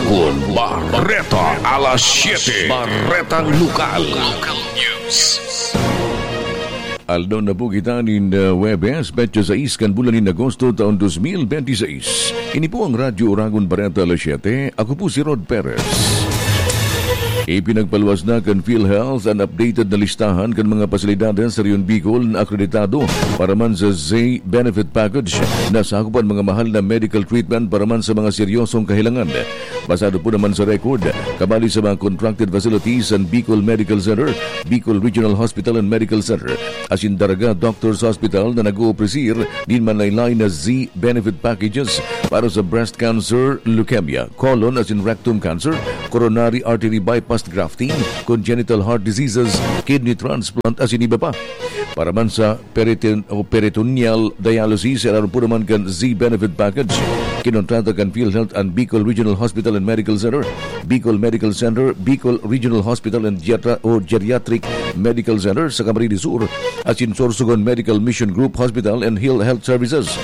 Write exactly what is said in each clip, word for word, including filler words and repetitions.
Con Barreta alas siete. Barretang Lokal. Local News. Aldaw na po kita nin, uh, Huwebes, petsa sais kan bulan nin Agosto, taon dos mil benti sais. Ini po ang Radyo Oragon Barreta alas siete. Ako po si Rod Perez. Ipinagpaluwas na kan PhilHealth an updated na listahan kan mga pasilidades sa Rehiyon Bicol na akreditado para man sa Z Benefit Package na sakop an mga mahal na medical treatment para man sa mga seryosong kahelangan. Basado po naman sa record, kabali sa mga contracted facilities an Bicol Medical Center, Bicol Regional Hospital and Medical Center, asin Daraga Doctors Hospital na nag-oopresir nin manlaylay na Z Benefit Packages para sa breast cancer, leukemia, colon asin rectum cancer, coronary artery bypass grafting, congenital heart diseases, kidney transplant asin iba pa. Para man sa periton-, o peritoneal dialysis, eraron po naman kan Z Benefit Package. Kinontrata kan PhilHealth an Bicol Regional Hospital and Medical Center, Bicol Medical Center, Bicol Regional Hospital and Geriatra-, o Geriatric Medical Center sa Camarines Sur, asin Sorsogon Medical Mission Group Hospital and Hill Health Services.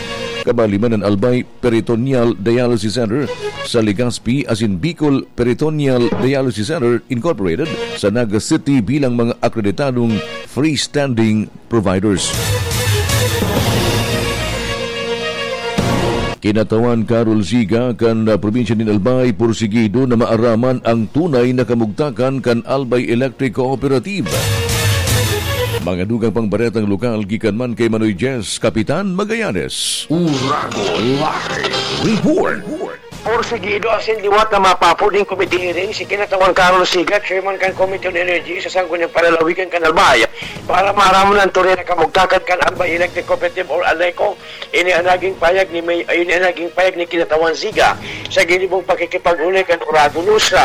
Kabali man an Albay Peritoneal Dialysis Center sa Legazpi asin Bicol Peritoneal Dialysis Center Incorporated sa Naga City bilang mga akreditadong freestanding providers. Kinatawan Carol Siga kan, ah, probinsya nin Albay, pursigido na maaraman ang tunay na kamugtakan kan Albay Electric Cooperative. Mga dugang pang baretang lokal gikan man kay Manoy Jess, Kapitan Magallanes. Uragon Live Report. Porsigido asin liwat na mapapod nin committee hearing si Kinatawan Carol Siga, chairman kan Committee on Energy sa Sangguniang Panlalawigan kan Albay, para maaraman ang tunay na kamugtakan kan Albay Electric Cooperative or ALECO. Ini ang naging payag ni May-, ini ang naging payag ni Kinatawan Siga sa ginibong pakikipag-unay kan Uragon News.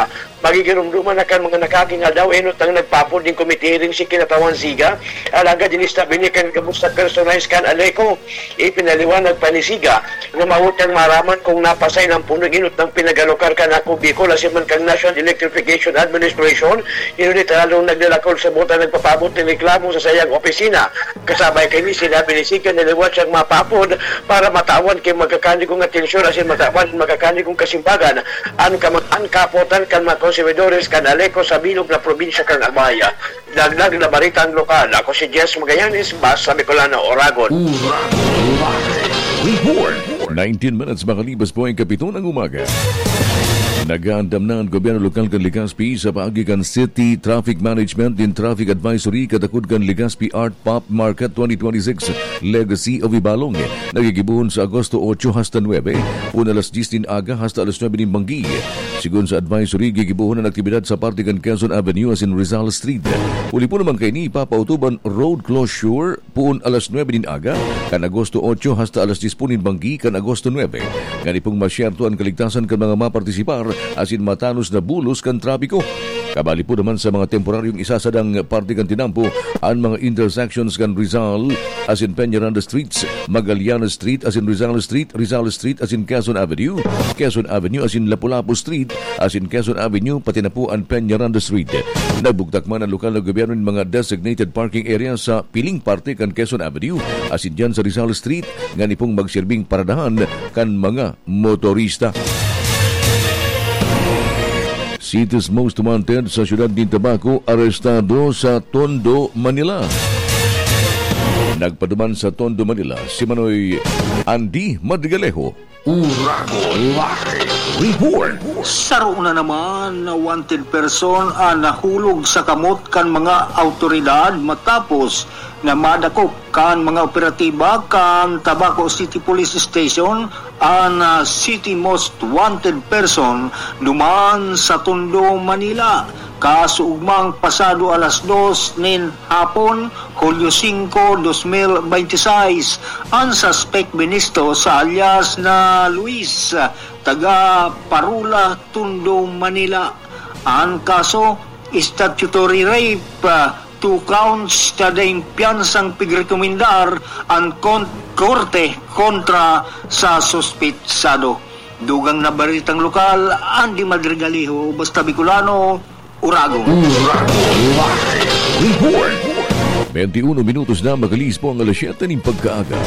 Magigiromdoman na kan mga nakakingal daw enot ang nagpapod nin committee hearing si Kinatawan Siga, alagad ini stabi niya kan gabos na personahes kan ALECO. Ipinaliwanag pa ni Siga na mawot niyang maraman kung napasay ng punong enot ng pinagalokar kan Ako Bicol asin man kan National Electrification Administration, ngunit lalong naglalakol sa buta nagpapabot ng reklamo sa sayang opisina. Kasabay kaini, sinabi ni Siga na liwat siyang mapapod para matawan ki magkakanigong atensyon asin matawan magkakanigong kasimbagan an kam-, an kapotan kan mga konsumidores kan ALECO sa bilog na probinsya kan Albay. Dagdag na baritang lokal, ako si Jess Magallanes, Basta Bicolano, Oragon. Uragon Live Report. Nineteen minutes makalipas po ang kapito ng umaga. Nag-aandam na ang gobyerno lokal kan Legazpi sa paagi kan City Traffic Management nin Traffic Advisory katakod kan Legazpi Art Pop Market twenty twenty-six Legacy of Ibalong. Nagigibohon sa Agosto ocho hasta nuebe, poon alas dyes nin aga hasta alas nuebe nin banggi. Sigon sa advisory, gigibohon an aktibidad sa parte kan Quezon Avenue asin Rizal Street. Huli po naman kaini, ipapautob an road closure poon alas nuebe nin aga, kan Agosto ocho hasta alas dyes po nin banggi kan Agosto nuebe. Ngani pong masyerto an kaligtasan kan mga mapartisipar asin matanos na bulos kan trapiko. Kabali po naman sa mga temporaryong isasadang parte kan tinampo an mga intersections kan Rizal asin Peñaranda Streets, Magallanes Street asin Rizal Street, Rizal Street asin Quezon Avenue, Quezon Avenue asin Lapu-Lapu Street, asin Quezon Avenue, pati na po an Peñaranda Street. Nagbugtak man an lokal na gobyerno nin mga designated parking area sa piling parte kan Quezon Avenue asin diyan sa Rizal Street, ngani pong magsirbing paradahan kan mga motorista. City's Most Wanted sa siyudad nin Tabaco, arestado sa Tondo, Manila. Nagpaduman sa Tondo, Manila, si Manoy Andy Madrigalejo. Uragon Live Report. Saro na naman na wanted person ang nahulog sa kamot kan mga awtoridad matapos na madakop kan mga operatiba kan Tabaco City Police Station an, ah, City Most Wanted Person duman sa Tondo, Manila. Kaso ugmang pasado alas dos nin hapon, Hulyo singko, dos mil benti sais, an suspek binisto sa alias na Luis, taga Parula, Tondo, Manila. An kaso, statutory rape, ah, two counts, kada in piyansang pigrekomendar an kon-, korte kontra sa suspetsado. Dugang na baritang lokal, Andy Madrigaliho, Basta Bicolano, Uragon. Uragon Live Report. Twenty-one minutos na, makalihis po ang alas siyete nin pagkaaga.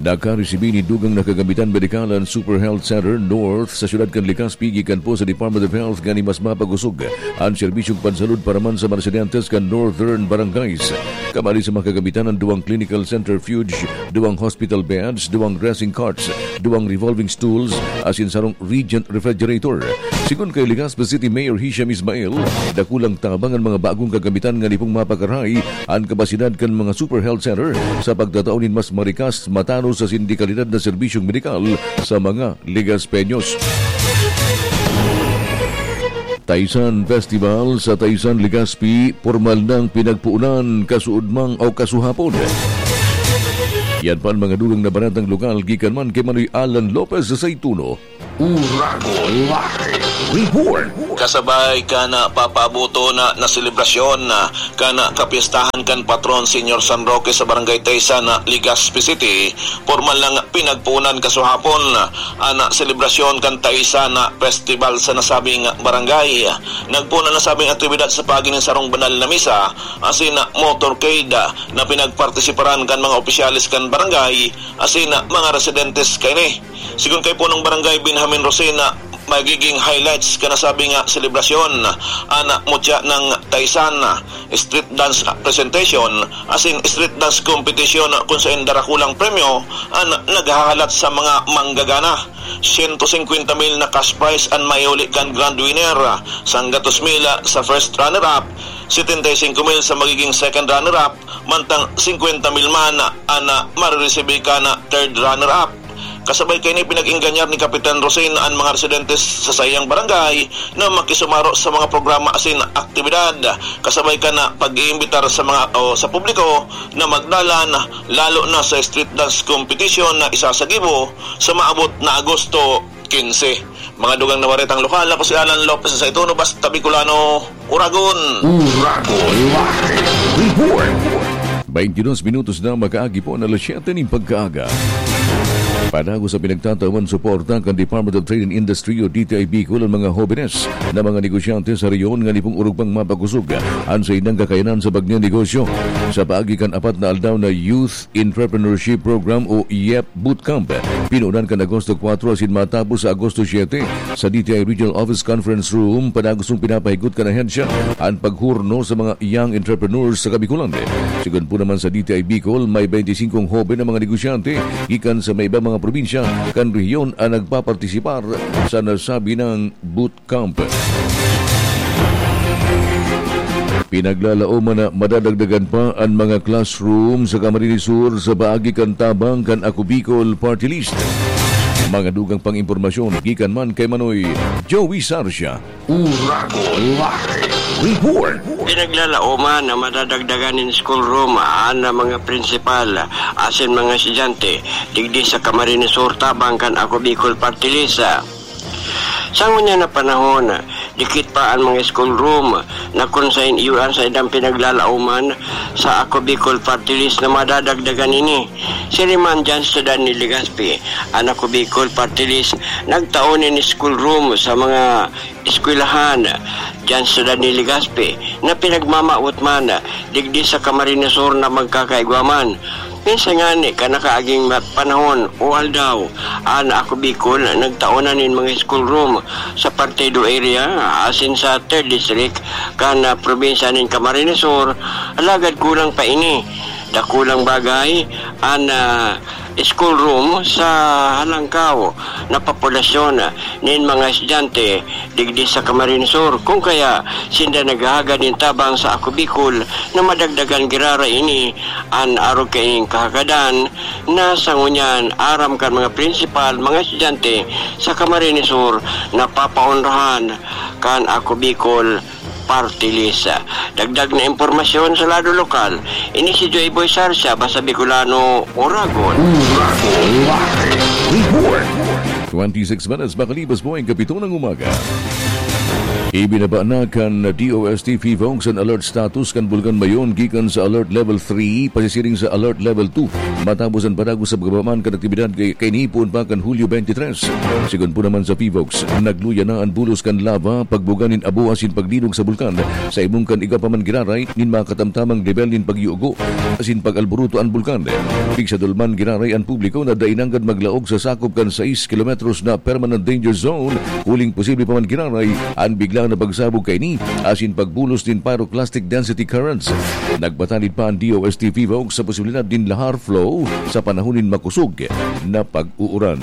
Nakaresibi nin dugang na kagamitan medikal an Super Health Center North sa siyudad kan Legazpi gikan po sa Department of Health nganing mas mapagusog an serbisyong pansalud para man sa mga residentes kan Northern Barangays. Kabali sa mga kagamitan an duwang clinical centrifuge, duwang hospital beds, duwang dressing carts, duwang revolving stools, asin sarong Regent refrigerator. Sigon kay Legazpi City Mayor Hisham Ismail, dakulang tabang an mga bagong kagamitan nganing pong mapakarahay an kapasidad kan mga Super Health Center sa pagtatao nin mas marikas, matanos asin de kalidad na serbisyong medikal sa mga Legazpeños. Taysan Festival sa Taysan, Legazpi, pormal nang pinagpuunan kasuodmang o kasuhapon. Yan pa an mga dugang na baretang lokal gikan man kay Manoy Alan Lopez sa Saituno. Uragon Live Report. Kasabay kan, ah, papaaboton na, na selebrasyon na kan, ah, kapiestahan kan patron Señor San Roque sa Barangay Taysan na Legazpi City, pormal nang pinagpuunan kasuhapon an, ah, selebrasyon kan Taysan na Festival sa nasabing barangay. Nagpoon an nasabing aktibidad sa paagi nin sarong banal na misa asin, ah, motorcade, ah, na pinagpartisiparan kan mga opisyales kan barangay asin, ah, mga residentes kaini. Sigon kay Punong Barangay Benjamin Rosena, magiging highlights kan nasabing selebrasyon an mutya ng Taysan, street dance presentation, asin street dance competition kun saen darakulang premyo an naghahalat sa mga manggagana. Siyento singkwenta mil na cash prize an maiuli kan grand winner, sanggatos mil sa first runner-up, setenta y cinco mil sa magiging second runner-up, mantang singkwenta mil man an mariresibi kan third runner-up. Kasabay kaini, pinag-ingganyar ni Kapitan Rosin an mga residentes sa saiyang barangay na makisumaro sa mga programa asin aktibidad, kasabay kan pag-iimbitar sa mga, o sa publiko na magdalan, lalo na sa street dance competition na isasagibo sa maabot na Agosto quince. Mga dugang na baretang lokal, ako si Alan Lopez sa Saituno, Basta Bicolano, Uragon. Uragon Live Report. Twenty-dos minutos na makaagi po na alas siyete nin pagkaaga. Padagos sa pinagtatawan suporta kan Department of Trade and Industry o D T I Bicol ang mga hobenes na mga negosyante sa rehiyon nganing pong orog pang mapakusog an saindang kakayanan sa pagnenegosyo. Sa paagi kan apat na aldaw na Youth Entrepreneurship Program o YEP Bootcamp, pinunan kan Agosto kuwatro asin matapos sa Agosto siyete sa D T I Regional Office Conference Room, padagos pong pinapahigot kan ahensya an paghurno sa mga young entrepreneurs sa Kabikolan. Sigon po naman sa D T I Bicol, may bente singkong hoben na mga negosyante gikan sa may ibang mga probinsya kan rehiyon an nagpapartisipar sa nasabi nang boot camp. Pinaglalaoman na madadagdagan pa an mga classroom sa Camarines Sur sa paagi kan tabang kan Ako Bicol Party List. Mga dugang pang impormasyon gikan man kay Manoy Joey Sarsia. Uragon Live Report. Pinaglalaoman na madadagdagan nin schoolroom an mga prinsipal asin mga estudyante digdi sa Camarines Sur tabang kan Ako Bicol Party List. Sa ngunyan na panahon, dikit pa an mga schoolroom na kun saen iyo an saindang pinaglalaoman sa Ako Bicol Party List na madadagdagan ini. Siring man diyan sa syudad ni Legazpi, an Ako Bicol Party List nagtao nin schoolroom sa mga eskwelahan diyan sa syudad ni Legazpi na pinagmamawot man digdi sa Camarines Sur na magkakaigwa man. Minsan ngani kan nakaaging ma-, panahon o aldaw, an Ako Bicol nagtao na nin mga school room sa Partido area asin sa third District kan, ah, probinsya nin Camarines Sur, alagad kulang pa ini. Dakulang bagay an, ah, school room sa halangkaw na populasyon nin mga estudyante digdi sa Camarines Sur, kun kaya sinda naghahagad nin tabang sa Ako Bicol na madagdagan giraray ini an arog kaining kahagadan na sa ngunyan aram kan mga prinsipal, mga estudyante sa Camarines Sur na papaonrahan kan Ako Bicol Party List. Dagdag na impormasyon sa lado lokal, ini si Joy Boy Sarsia, Basta Bicolano, Uragon. Uragon Live Report. Twenty-six minutes makalipas po ang kapito ng umaga. Ibinaba na kan D O S T PHIVOLCS an alert status kan Bulkan Mayon gikan sa Alert Level three pasisiring sa Alert Level two, matapos an padagos sa pagkabaman kan aktibidad kay, kaini poon pa kan Hulyo twenty-three. Sigon po naman sa PHIVOLCS, nagluya na an bulos kan lava, pagbuga nin abo asin paglinog sa bulkan, sa ibong kan igwa pa man giraray nin makatamtamang lebel nin pagyugo asin pag-alburuto an bulkan. Pigsadol man giraray an publiko na dai nanggad maglaog sa sakop kan sais kilometros na permanent danger zone, huling posible pa man giraray an bigla na pagsabog kaini asin pagbulos nin pyroclastic density currents. Nagpatanid pa an D O S T PHIVOLCS sa posibilidad nin lahar flow sa panahon nin makosog na pag-uuran.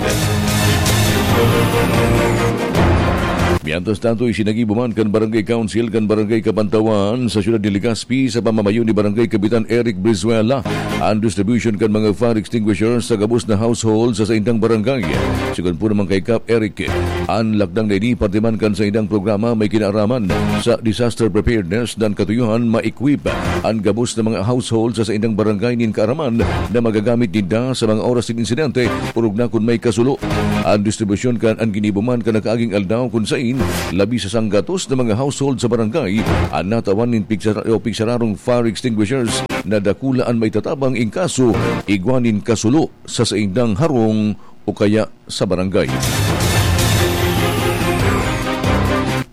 Mientras tanto, isinagibo man kan Barangay Council kan Barangay Kabantawan sa siyudad ni Legazpi sa pamamayo ni Barangay Kapitan Eric Brizuela an distribution kan mga fire extinguishers sa gabos na household sa saindang barangay. Sigon po naman kay Kap Eric, an lakdang na ini parte man kan saindang programa may kinaaraman sa disaster preparedness dan katuyohan ma-equip an gabos na mga household sa saindang barangay nin kaaraman na magagamit ninda sa mga oras nin insidente, orog na kun may kasulo. An distribusyon kan an ginibo man kan nakaaging aldaw kun sain labi sa sanggatos na mga household sa barangay an natawan nin pigsara-, o pigsararong fire extinguishers na dakula an maitatabang in kaso igwa nin kasulo sa saindang harong o kaya sa barangay.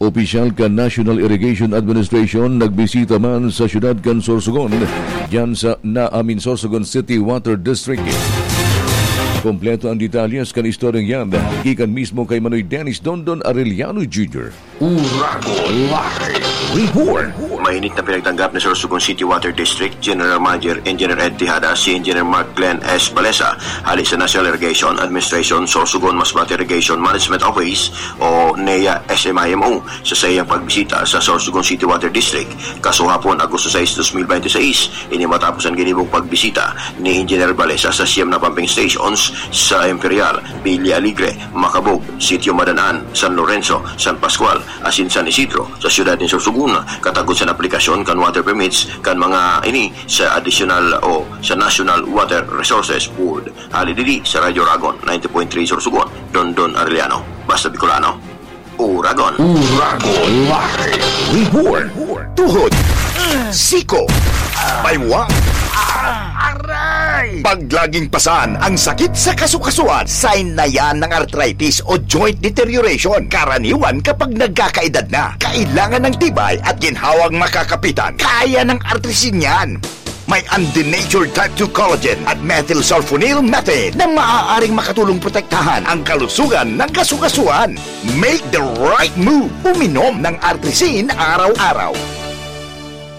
Opisyal kan National Irrigation Administration nagbisita man sa siyudad kan Sorsogon, diyan sa, na, I mean, Sorsogon City Water District. Kompleto ang detalyes kan istoryang yan, gikan mismo kay Manoy Dennis Dondon Arellano Junior. Uragon Live Report. Mainit na pinagtanggap ni Sorsogon City Water District General Manager Engineer Ed Tejada si Engineer Mark Glenn S. Balesa, hali sa National Irrigation Administration, Sorsogon Masbate Irrigation Management Office o NEA S M I M O, sa saiyang pagbisita sa Sorsogon City Water District, kasuhapon, Agosto sais, dos mil bente seis. Ini matapos an ginibong pagbisita ni Engineer Balesa sa siyam na pumping stations sa Imperial, Villa Alegre, Macabog, Sitio Madanaan, San Lorenzo, San Pascual, asin San Isidro sa siyudad nin Sorsogon, katagod sa aplikasyon kan water permits kan mga ini sa additional o sa National Water Resources Board. Hali digdi sa Radyo Uragon, ninety point three Sorsogon, Dondon Arellano. Basta Bicolano, Uragon. Uragon Live Report. Tuhod, siko, baywa, aray! Pag laging pasan ang sakit sa kasukasuan, sign na yan ng arthritis o joint deterioration. Karaniwan kapag nagkakaedad na, kailangan ng tibay at ginhawang makakapitan. Kaya ng Artrisin yan. May undenatured type two collagen at methylsulfonyl methane na maaaring makatulong protektahan ang kalusugan ng kasukasuan. Make the right move. Uminom ng Artrisin araw-araw.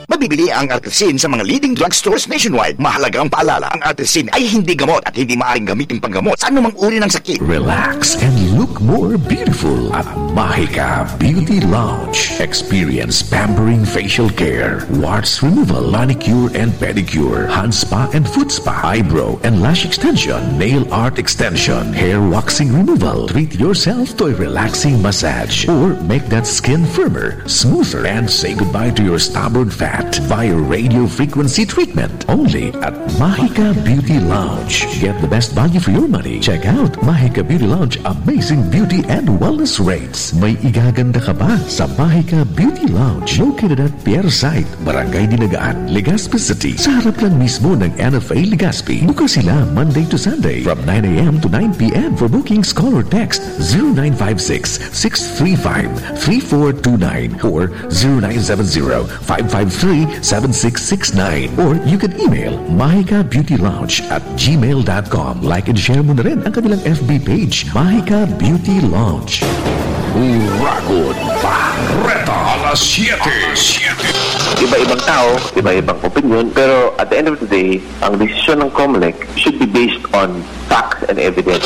Mabibili ang Artrisin sa mga leading drugstores nationwide. Mahalagang paalala, ang Artrisin ay hindi gamot at hindi maaaring gamitin panggamot sa anumang uri ng sakit. Relax and look more beautiful at Mahika Beauty Lounge. Experience pampering facial care, warts removal, manicure and pedicure, hand spa and foot spa, eyebrow and lash extension, nail art extension, hair waxing removal. Treat yourself to a relaxing massage or make that skin firmer, smoother, and say goodbye to your stubborn fat via radio frequency treatment. Only at Mahika Beauty Lounge. Get the best value for your money. Check out Mahika Beauty Lounge amazing beauty and wellness rates. May igaganda ka ba sa Mahika Beauty Lounge? Located at Pier Site, Barangay Dinagaan, Legazpi City, sa harap lang mismo ng N F A Legazpi. Bukas sila Monday to Sunday from nine a m to nine p m. For bookings, call or text zero nine five six, six three five, three four two nine or zero nine seven zero, five five three, seven six six nine, or you can email mahika beauty lounge at gmail dot com. Like and share mo na rin ang kanilang F B page, Mahika Beauty Lounge. Uragon Bareta, alas siyete. Iba-ibang tao, iba-ibang opinyon, pero at the end of the day, ang desisyon ng COMELEC should be based on facts and evidence.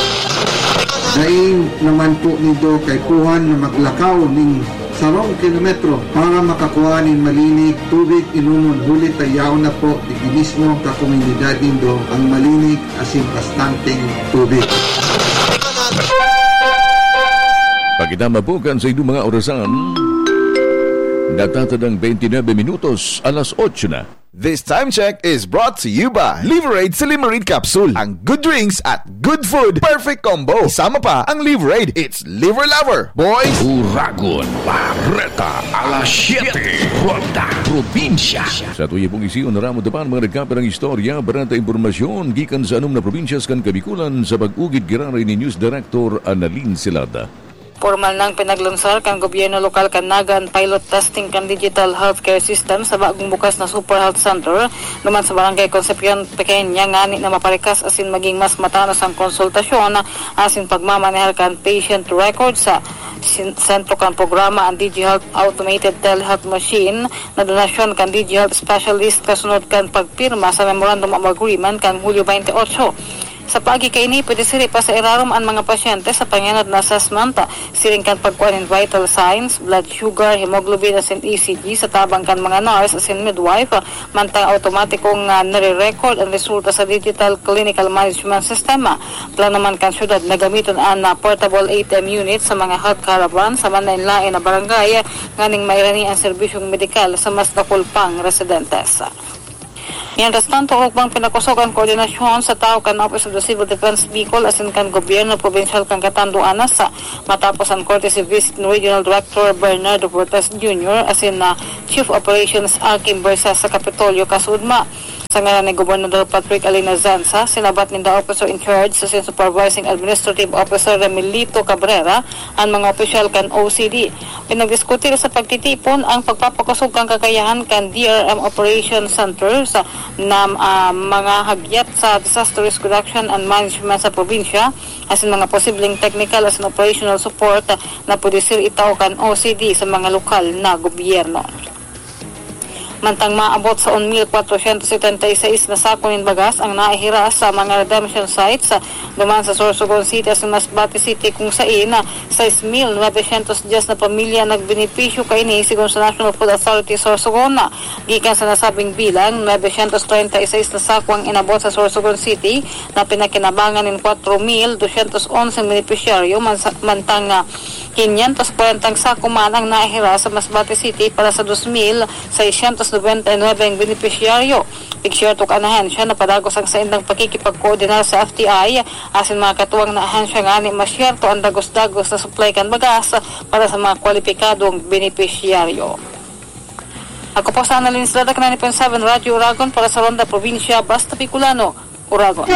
Dai naman po nindo kaipuhan na maglakaw ning sarong kilometro para makakua nin malinig tubig inomon, huli ta yaon na po digdi mismo sa komunidad nindo ang malinig asin bastanteng tubig. Pagkitama po kan sa inyong mga orasan, natatadang twenty-nine minutos, alas otso na. This time check is brought to you by Liverade Silimarid Capsule. Ang good drinks at good food, perfect combo. Isama pa ang Liverade. It's Liver Lover, boys! Uragon, Bareta, alas siyete, Ronda, Probinsya. Sa tuya pong isiyon, naramo dapan mga nagkaperang istorya, bareta impormasyon, gikan sa anom na probinsyas kan Kabikulan sa pag-ugid giraray ni News Director Annalyn Silada. Pormal nang pinaglansar kan gobyerno lokal kan Naga an pilot testing kan digital healthcare system sa bagong bukas na Super Health Center duman sa Barangay Concepcion Pequeña ngani na maparikas asin maging mas matanos ang konsultasyon asin pagmamanehar kan patient record sa sin-, sentro kan programa an DigiHealth Automated Telehealth Machine na donasyon kan DigiHealth Specialist kasunod kan pagpirma sa Memorandum of Agreement kan Hulyo twenty-eight. Sa paagi kaini, pwede siri pa sa irarom an mga pasyente sa pangenot na assessment, siring kan pagkua nin vital signs, blood sugar, hemoglobin asin E C G sa tabang kan mga nurse asin midwife, mantang automatikong, ah, nare-record an resulta sa digital clinical management system. Plano man kan syudad na gamiton an, ah, portable A T M unit sa mga health caravan sa manlaen-laen na barangay nganing mairani an serbisyong medikal sa mas dakul pang residentes. Mientras tanto, ugmang pinakosog an koordinasyon sa tawo kan Office of the Civil Defense Bicol asin kan gobyerno probinsyal kan Catanduanes, matapos an courtesy visit ni Regional Director Bernardo Cortez Junior asin na Chief Operations Akim Bersa sa Kapitolyo, Casudma. Sa ngaran ni Gobernador Patrick Alina Zanza, sinabat ninda Officer in Charge asin Supervising Administrative Officer Remilito Cabrera an mga opisyal kan O C D. Pinagdiskutir sa pagtitipon ang pagpapakosog kan kakayahan kan D R M Operation Centers na, ah, mga hagyat sa disaster risk reduction and management sa probinsya, asin mga posibleng technical asin operational support na pwede sir itao kan O C D sa mga lokal na gobyerno. Mantang maabot sa one mil kwatrosyentos setenta y seis na sako nin bagas ang naihiras sa mga redemption sites, ah, duman sa Sorsogon City asin Masbate City, kung sain, ah, sais mil novecientos dyes na pamilya nagbenepisyo kaini, sigon sa National Food Authority Sorsogon. Gikan sa nasabing bilang, novecientos treinta y seis na sako ang inabot sa Sorsogon City na pinakinabangan nin kwatro mil dosyentos onse benepisyaryo, man sa, mantang, ah, quinientos kwarenta sako man ang nahiras sa Masbate City para sa dos mil seiscientos noventa y nuebe ang benepisyaryo. Igsiyerto kan ahensya na padagos ang saindang pakikipagkoordinar sa F T I asin mga katuwang na ahensya ngani masyerto an dagos-dagos na supply kan bagas para sa mga kwalipikadong benepisyaryo. Ako po sa Annalyn Estrada, ninety point seven Radyo Uragon para sa Ronda Probinsya, Basta Bicolano, Uragon.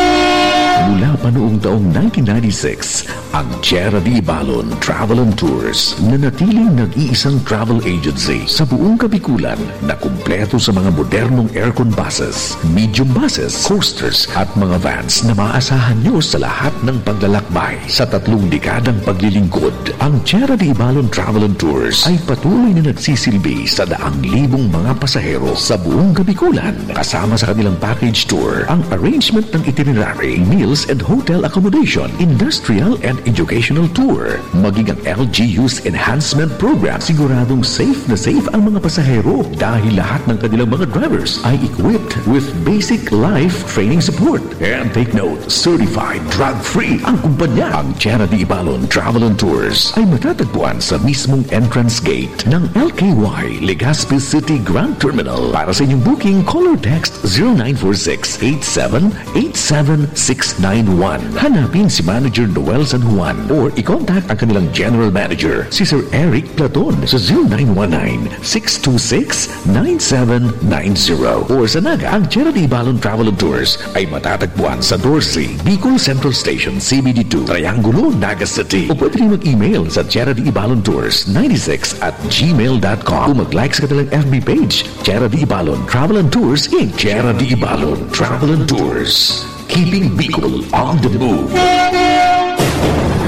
Mula pa noong taong nineteen ninety-six, ang Tierra de Ibalon Travel and Tours, nanatiling nag-iisang travel agency sa buong Kabikulan na kumpleto sa mga modernong aircon buses, medium buses, coasters, at mga vans na maaasahan nyo sa lahat ng paglalakbay. Sa tatlong dekadang paglilingkod, ang Tierra de Ibalon Travel and Tours ay patuloy na nagsisilbi sa daang libong mga pasahero sa buong Kabikulan. Kasama sa kanilang package tour, ang arrangement ng itinerary, meals and hotel accommodation, industrial and educational tour, maging ang L G U's enhancement program, siguradong safe na safe ang mga pasahero dahil lahat ng kanilang mga drivers ay equipped with basic life training support. And take note, certified drug-free ang kumpanya. Ang Tierra de Ibalon Travel and Tours ay matatagpuan sa mismong entrance gate ng L K Y Legazpi City Grand Terminal. Para sa inyong booking, call or text zero nine four six eight seven eight seven six nine one. Hanapin si Manager Noel San Juan or i-contact ang kanilang General Manager, si Sir Eric Platon, sa zero nine one nine six two six nine seven nine zero. Or sa Naga, ang Tierra de Ibalon Travel and Tours ay matatagpuan sa doce, Bicol Central Station, C B D two, Triangulo, Naga City. O pwede rin mag-email sa Tierra de Ibalon Tours ninety-six at gmail dot com. O mag-like sa kanilang F B page, Tierra de Ibalon Travel and Tours, Inc. Tierra de Ibalon Travel and Tours. Keeping Bicol on the move.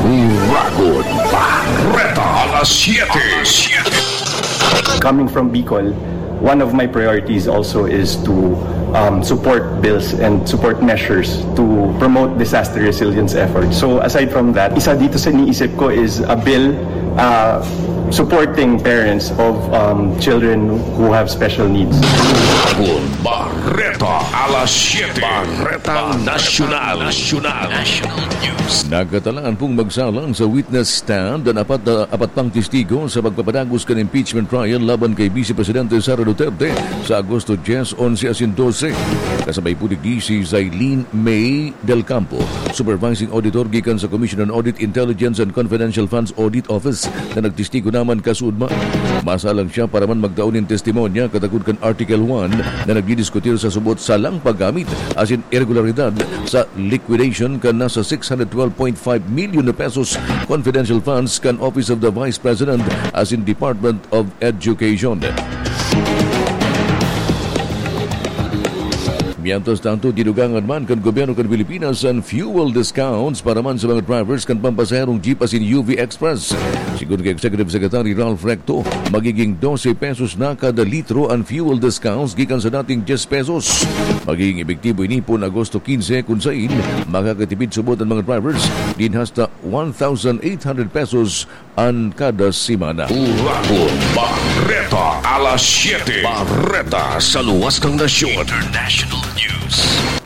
Uragon, Bareta, alas siyete. Coming from Bicol, one of my priorities also is to, um, support bills and support measures to promote disaster resilience efforts. So aside from that, isa dito sa iniisip ko is a bill uh, supporting parents of um, children who have special needs. Bagong Bareta, alas siyete. Bareta Nasyonal. Nasyonal. National News. Nagkatalaan pong magsalang sa witness stand ang apat na, apat pang testigo sa pagpapadagos kan impeachment trial laban kay Vice Presidente Sara Duterte sa Agosto dyes, onse asin dose. Kasabay po digdi si Zailene May Del Campo, Supervising Auditor gikan sa Commission on Audit, Intelligence and Confidential Funds Audit Office, na nagtestigo naman kasuodma. Masalang siya para man magtao nin testimonya katakod kan Article one na nagdidiskutir sa subot sa lang paggamit asin irregularidad sa liquidation kan nasa six hundred twelve point five million na pesos confidential funds kan Office of the Vice President asin Department of Education. Mientras tanto, dinugangan man kan gobyerno kan Pilipinas an fuel discounts para man sa mga drivers kan pampasaherong jeep asin U V Express. Sigon kay Executive Secretary Ralph Recto, magiging dose pesos na kada litro an fuel discounts gikan sa dating dyes pesos. Magiging epektibo ini pon Agosto kinse, kun sain makakatipid subot an mga drivers nin hasta one thousand eight hundred pesos an kada semana. Uragon Bareta, alas siyete. Bareta sa luwas ng nasyon. International News.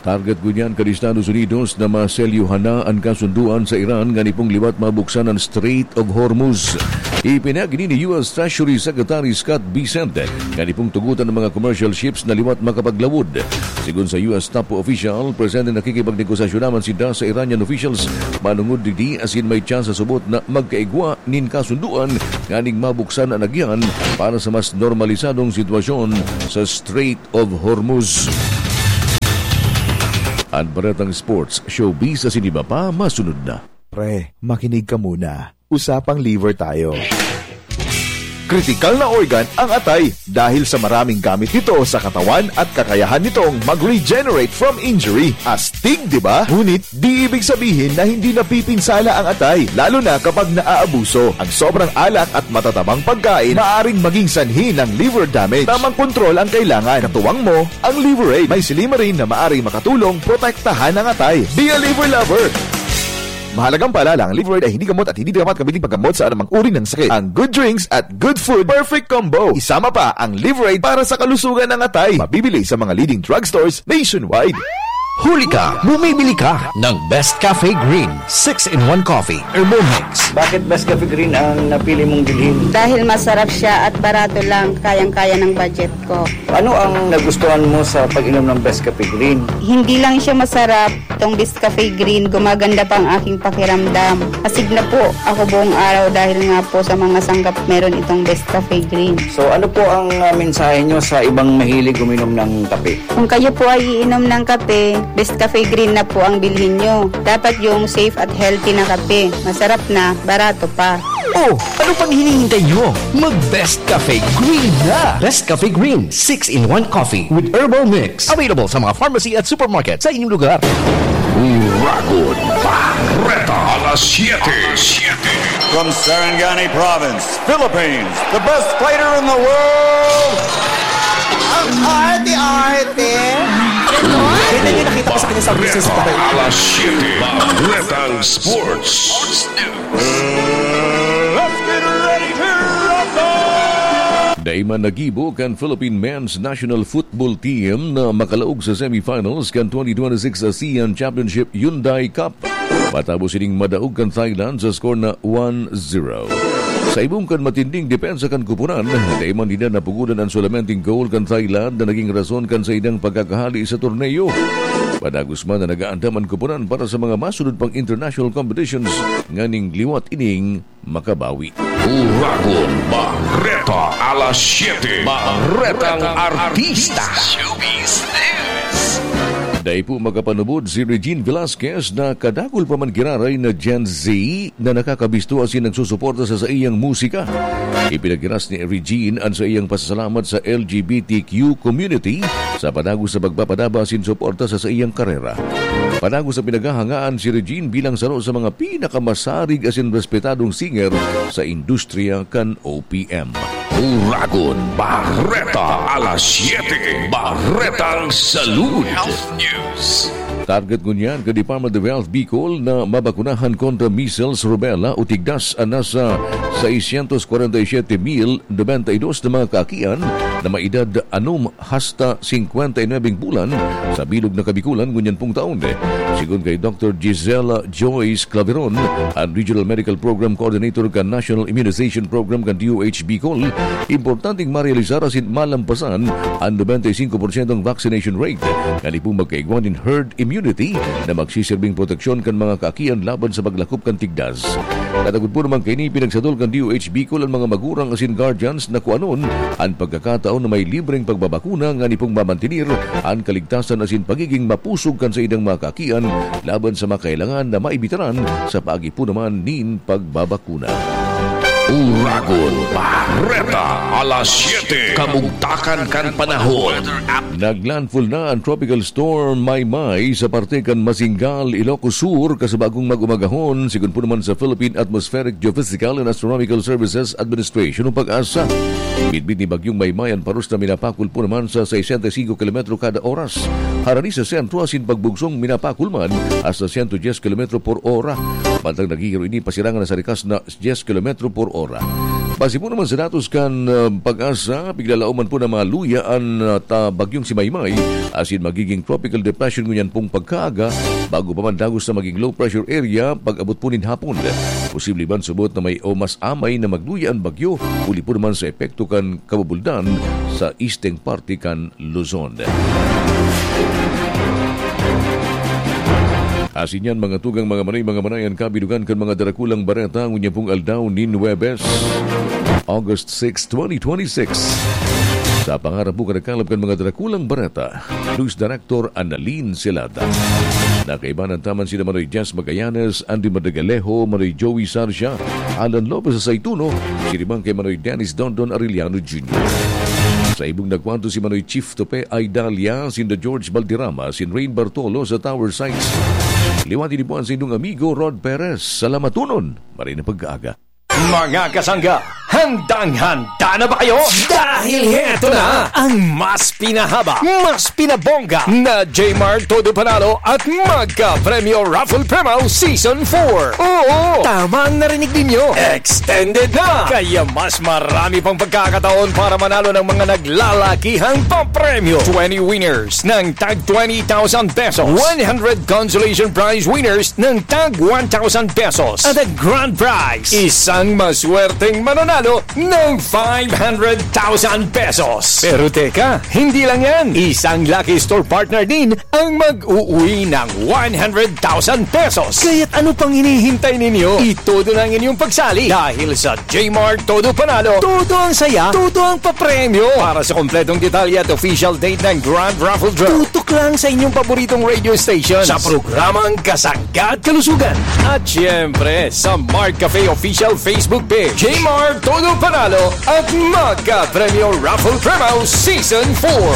Target ngunyan kan Estados Unidos na maselyuhan na an kasunduan sa Iran ngani pong liwat mabuksan an Strait of Hormuz. Ipinagi ni U S Treasury Secretary Scott Bessent ngani pong tugotan ang mga commercial ships na liwat makapaglawod. Sigon sa U S top official, presente nakikipagnegosasyon naman sinda sa Iranian officials manungod digdi asin may tsansa subot na magkaigwa nin kasunduan nganing mabuksan an agihan para sa mas normalisadong sitwasyon sa Strait of Hormuz. An baretang sports, showbiz asin iba pa, masunod na. Pre, makinig ka muna. Usapang liver tayo. Kritikal na organ ang atay dahil sa maraming gamit nito sa katawan at kakayahan nitong mag-regenerate from injury. Astig, di ba? Ngunit, di ibig sabihin na hindi napipinsala ang atay, lalo na kapag naaabuso. Ang sobrang alak at matatabang pagkain maaring maging sanhi ng liver damage. Tamang kontrol ang kailangan. Katuwang mo, ang Liver Aid. May silymarin na maaring makatulong protektahan ang atay. Be a liver lover! Mahalagang paalala, ang Liver Aid ay hindi gamot at hindi dapat gamitin paggamot sa anumang uri ng sakit. Ang good drinks at good food, perfect combo. Isama pa ang Liver Aid para sa kalusugan ng atay. Mabibili sa mga leading drugstores nationwide. Huli ka! Bumibili ka ng Best Cafe Green six-in-one Coffee Herbal Mix. Bakit Best Cafe Green ang napili mong bilhin? Dahil masarap siya at barato lang, kayang-kaya ng budget ko. Ano ang nagustuhan mo sa pag-inom ng Best Cafe Green? Hindi lang siya masarap, itong Best Cafe Green, gumaganda pa ang aking pakiramdam. Astig na po ako buong araw dahil nga po sa mga sanggap meron itong Best Cafe Green. So, ano po ang, ah, mensahe nyo sa ibang mahilig uminom ng kape? Kung kayo po ay iinom ng kape, Best Cafe Green na po ang bilhin nyo. Dapat yung safe at healthy na kape. Masarap na, barato pa. Oh, ano pang hinihintay nyo? Mag Best Cafe Green na! Best Cafe Green, six-in-one Coffee with Herbal Mix. Available sa mga pharmacy at supermarket sa inyong lugar. Uragon Bareta, alas siyete. From Sarangani Province, Philippines, the best fighter in the world. Ang arte-arte. Ganyan yung nakita ko sa kanya sa business pa rin. Alas siyete, Baretang Sports. Let's get ready to rumble! Dai man nagibo kan Philippine Men's National Football Team na makalaog sa semifinals kan twenty twenty-six ASEAN Championship Hyundai Cup. Matapos sining madaog kan Thailand sa score na one zero. Sa ibong kan matinding depensa kan koponan, dai man dinda napugodan an solamenteng goal kan Thailand na naging rason kan saindang pagkakahali sa torneo. Padagos man na nag-aandam an koponan para sa mga masunod pang international competitions nganing liwat ining makabawi. Uragon Bareta, alas siyete. Baretang Artista. Showbiz News. Dai po makapanubod si Regine Velasquez na kadakul pa man giraray na Gen Z na nakakabisto asin nagsusuporta sa saiyang musika. Ipinaghiras ni Regine an saiyang pasasalamat sa L G B T Q community sa padagos sa pagpapadaba asin suporta sa saiyang karera. Padagos sa pinaghahangaan si Regine bilang saro sa mga pinakamasarig asin respetadong singer sa industriya kan O P M. Uragon Bareta, alas siyete. Baretang Salud. Health News. Target ngunyan kan Department of Health Bicol na mabakunahan kontra measles, rubella o tigdas an nasa seiscientos cuarenta y siete mil noventa y dos na mga kaakian na may edad anom hasta cincuenta y nueve bulan sa bilog na Kabikulan ngunyan pong taon. Sigon kay Doctor Gisela Joyce Claveron, an Regional Medical Program Coordinator kan National Immunization Program kan D O H Bicol, importanteng marealisar asin malampasan an noventa y cinco porsyentong vaccination rate, ngani pong magkaigwa nin herd immunity na magsiserbing proteksyon kan mga kaakian laban sa paglakop kan tigdas. Katagod po naman kaini, pinagsadol kan D O H Bicol an mga magurang asin guardians na kuanon an pagkakataon na may libreng pagbabakuna ngani pong mamantenir an kaligtasan asin pagiging mapusog kan saindang mga kaakian laban sa makailangan na maibitaran sa paagi po naman nin pagbabakuna. Uragon Bareta, alas siyete, kamugtakan kan panahon. Naglandfall na an Tropical Storm Maymay sa parte kan Masingal, Ilocos Sur, kasabagong mag-umagahon, sigon po naman sa Philippine Atmospheric Geophysical and Astronomical Services Administration o PAGASA. Midbid ni Bagyong Maymay an paros na minapakol po naman sa sesenta y singko kilometro kada oras. Harani sa sentro asin pagbugsong minapakol man hasta sento dyes kilometro por ora. Mantang naghihiro ini, pasirangan na sa rikas na dyes kilometro por ora. Base po naman sa datos kan, ah, PAGASA, piglalaoman po na maluya an, ah, ta-, bagyong si Maymay, asin magiging tropical depression ngunyan pong pagkaaga, bago pa man dagos na maging low pressure area pag-abot po nin hapon. Posible man subot na may o mas amay na magluya an bagyo, huli po naman sa epekto kan kabubuldan sa isteng parte kan Luzon. Asin yan, mga tugang, mga manay, mga manay, an kabidugan kan mga darakulang bareta ngunyan pong aldaw nin Huwebes, August six, twenty twenty-six. Sa pangarap po kan nagkalap kan mga darakulang bareta, News Director Annalyn Celada. Nakaibanan taman sina Manoy Jess Magallanes, Andy Madagalejo, Manoy Joey Sarcia, Alan Lopez sa Saituno, siribang kay Manoy Dennis Dondon Arellano Junior. Sa ibong nagkwanto si Manoy Chief Tope Aidalia, sinda George Valderrama, sin Rain Bartolo sa Tower Sites. Liwati ni po an sa inyong amigo Rod Perez. Salamatunon, maray na pagkaaga. Mga kasangga, handang-handa na ba kayo? Dahil heto na ang mas pinahaba, mas pinabongga na Jmart Todo Panalo at Magka Premyo Raffle Promo Season four. Oo, tama ang narinig ninyo. Extended na! Kaya mas marami pang pagkakataon para manalo ng mga naglalakihang papremyo. Twenty winners ng tag twenty thousand pesos, one hundred consolation prize winners ng tag one thousand pesos, at ang grand prize, isang maswerteng mananalo ng five hundred thousand pesos. Pero teka, hindi lang yan. Isang Lucky Store partner din ang mag-uwi ng one hundred thousand pesos. Kaya't ano pang hinihintay ninyo? Itodo na ang inyong pagsali, dahil sa Jmart Todo Panalo, todo ang saya, todo ang papremyo. Para sa kompletong detalye at official date ng Grand Raffle Draw, tutok lang sa inyong paboritong radio station sa programang Kasangga at Kalusugan. At siyempre, sa Mart Cafe Official Facebook page, Jmart Todo Panalo at Magka Premyo Raffle Promo Season four.